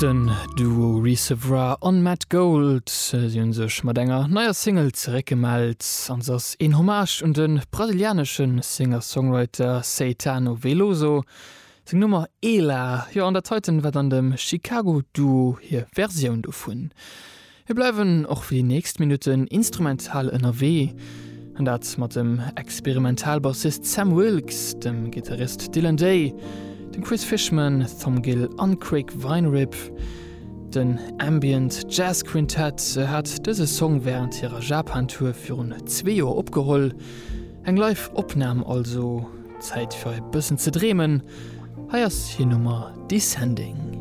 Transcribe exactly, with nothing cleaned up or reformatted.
Den Duo Recevra an Matt Gold si hunn sech mat enger neier Single zeréckgemellt an se ass een Hommage un de brasilianesche Singer-Songwriter Caetano Veloso. Seng Nummer Ela, jo an dat heiten war dann dem Chicago Duo hir Versioun dovun. Mir bleiwen och fir déi nächst Minutten instrumental ënnerwee, an dat mat dem Experimentalbassist Sam Wilkes, dem Gittarist Dylan Day, dem Chris Fishman, Thom Gill an Craig Weinrib. Den Ambient Jazz Quintett hat dëse Song wärend hirer Japan-Tour virun zwee Joer opgeholl. Eng Live-Opnam also. Zäit fir e bëssen ze dreemen. Hei ass hir Nummer Descending.